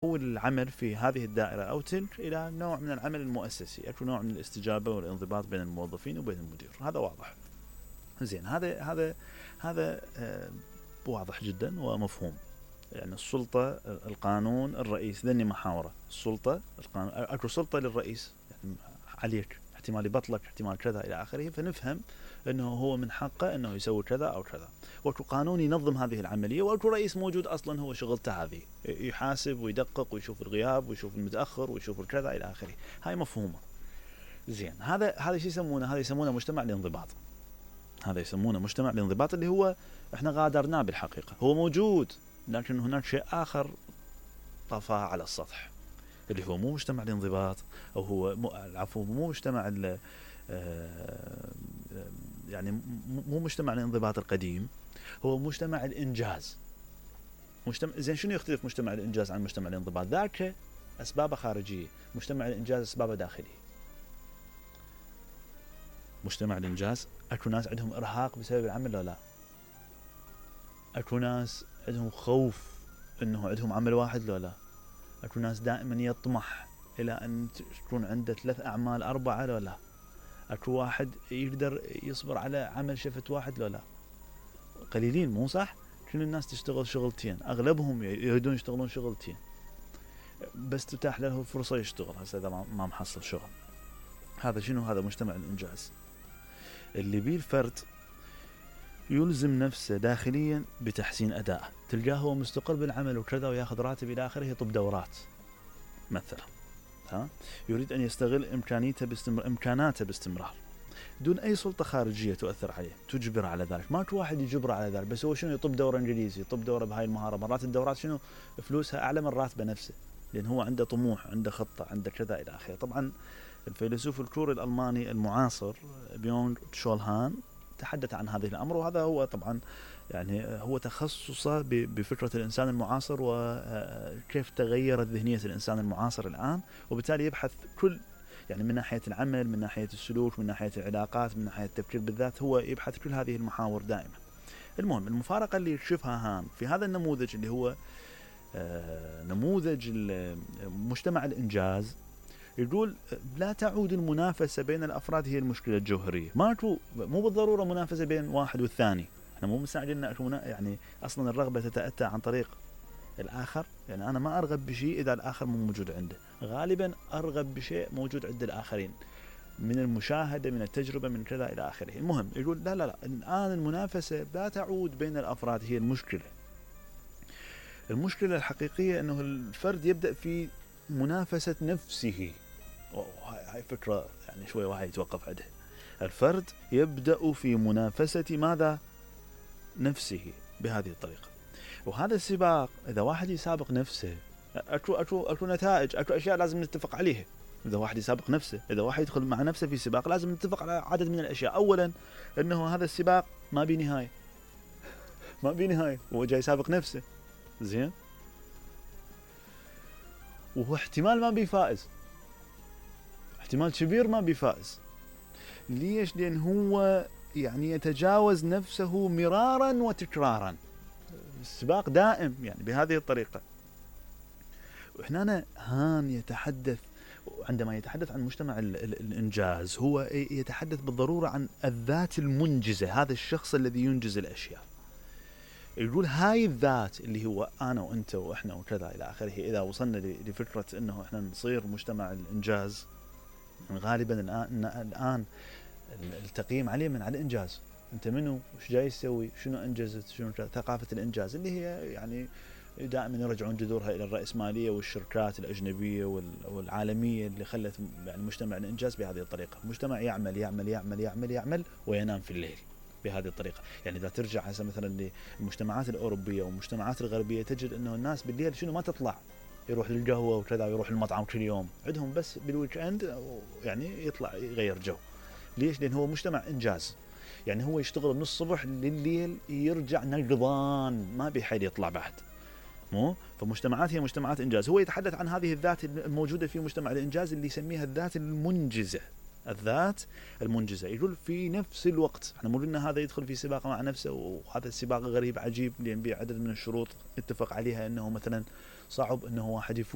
العمل في هذه الدائرة أو تلك إلى نوع من العمل المؤسسي، أكو نوع من الاستجابة والانضباط بين الموظفين وبين المدير، هذا واضح. زين، هذا واضح جدا ومفهوم. يعني السلطة، القانون، الرئيس، ذني محاورة. السلطة، القانون، أكو سلطة للرئيس يعني عليك، احتمال يبطلك، احتمال كذا إلى آخره، فنفهم أنه هو من حقه أنه يسوي كذا أو كذا. وأكو قانون ينظم هذه العملية، وأكو رئيس موجود أصلا هو شغلته هذه، يحاسب ويدقق ويشوف الغياب ويشوف المتأخر ويشوف الكذا إلى آخره. هاي مفهومة. زين، هذا شو يسمونه؟ هذا يسمونه مجتمع الانضباط. هذا يسمونه مجتمع الانضباط، اللي هو احنا غادرناه بالحقيقة. هو موجود، لكن هناك شيء آخر طفاه على السطح، اللي هو مو مجتمع الانضباط، أو هو مو مجتمع يعني مو مجتمع الانضباط القديم، هو مجتمع الإنجاز. زين، شنو يختلف مجتمع الإنجاز عن مجتمع الانضباط؟ ذاك أسبابه خارجية، مجتمع الإنجاز أسبابه داخلية. مجتمع الإنجاز أكو ناس عندهم إرهاق بسبب العمل ولا لا؟ أكو ناس عندهم خوف إنه عندهم عمل واحد لو لا؟ أكو ناس دائما يطمح إلى أن تكون عنده 3 أعمال 4 لو لا؟ أكو واحد يقدر يصبر على عمل شفت واحد لو لا؟ قليلين، مو صح؟ كل الناس تشتغل شغلتين، أغلبهم يريدون يشتغلون شغلتين، بس تتاح له فرصة يشتغل. هسه إذا ما محصل شغل، هذا شنو؟ هذا مجتمع الإنجاز، اللي بيه الفرد يلزم نفسه داخليا بتحسين أدائه. تلقاه هو مستقر بالعمل وكذا وياخذ راتب إلى آخره، يطب دورات مثلا، يريد أن يستغل إمكاناته باستمرار دون أي سلطة خارجية تؤثر عليه تجبر على ذلك. ماكو واحد يجبر على ذلك، بس هو شنو؟ يطب دورة إنجليزي، يطب دورة بهاي المهارة. مرات الدورات شنو فلوسها أعلى من راتبه نفسه، لأن هو عنده طموح، عنده خطة، عنده كذا إلى آخره. طبعا الفيلسوف الكوري الألماني المعاصر بيونغ تشول هان تحدث عن هذه الأمر، وهذا هو طبعا يعني هو تخصصه بفكرة الإنسان المعاصر وكيف تغيرت ذهنية الإنسان المعاصر الآن. وبالتالي يبحث كل يعني من ناحية العمل، من ناحية السلوك، من ناحية العلاقات، من ناحية التفكير بالذات، هو يبحث كل هذه المحاور دائما. المهم، المفارقة اللي يكشفها هان في هذا النموذج اللي هو نموذج مجتمع الإنجاز، يقول لا تعود المنافسة بين الأفراد هي المشكلة الجوهرية. مو بالضرورة منافسة بين واحد والثاني، احنا مو مستعجلين يعني أصلا الرغبة تتأتى عن طريق الآخر. يعني أنا ما أرغب بشيء إذا الآخر مو موجود عنده، غالبا أرغب بشيء موجود عند الآخرين، من المشاهدة، من التجربة، من كذا إلى آخره. المهم يقول لا الآن المنافسة لا تعود بين الأفراد هي المشكلة. المشكلة الحقيقية أنه الفرد يبدأ في منافسة نفسه. هاي فكرة يعني شوي واحد يتوقف عندها. الفرد يبدأ في منافسة ماذا؟ نفسه، بهذه الطريقة. وهذا السباق، إذا واحد يسابق نفسه، أكو نتائج، أكو أشياء لازم نتفق عليها. إذا واحد يسابق نفسه، إذا واحد يدخل مع نفسه في سباق، لازم نتفق على عدد من الأشياء. أولا أنه هذا السباق ما بيه نهاية، ما بيه نهاية، هو جاي يسابق نفسه. زين، وهو احتمال ما بيه فائز، احتمال كبير ما بيه فائز. ليش؟ لأن هو يعني يتجاوز نفسه مرارا وتكرارا، السباق دائم يعني بهذه الطريقة. وإحنا هان يتحدث، عندما يتحدث عن مجتمع الإنجاز، هو يتحدث بالضرورة عن الذات المنجزة، هذا الشخص الذي ينجز الأشياء. يقول هاي الذات اللي هو أنا وأنت وإحنا وكذا إلى آخره. إذا وصلنا لفكرة أنه إحنا نصير مجتمع الإنجاز، غالبا الآن التقييم عليه من على الإنجاز. أنت منو؟ وش جاي تسوي؟ شنو أنجزت؟ شنو ثقافة الإنجاز اللي هي يعني دائما يرجعون جذورها إلى الرأسمالية والشركات الأجنبية والعالمية اللي خلت يعني مجتمع الإنجاز بهذه الطريقة. مجتمع يعمل يعمل يعمل يعمل يعمل وينام في الليل بهذه الطريقة. يعني إذا ترجع هسه مثلا للمجتمعات الأوروبية والمجتمعات الغربية، تجد أنه الناس بالليل شنو ما تطلع، يروح للقهوة وكذا، يروح المطعم كل يوم، عندهم بس بالويك اند يعني يطلع يغير جو. ليش؟ لأن هو مجتمع إنجاز، يعني هو يشتغل من الصبح لليل، يرجع نقضان، ما بيحيل يطلع بعد. مو فمجتمعات هي مجتمعات إنجاز. هو يتحدث عن هذه الذات الموجودة في مجتمع الإنجاز اللي يسميها الذات المنجزة. الذات المنجزة، يقول في نفس الوقت احنا مو قلنا هذا يدخل في سباق مع نفسه، وهذا السباق غريب عجيب لأن به عدد من الشروط اتفق عليها، انه مثلا صعب انه واحد يفوز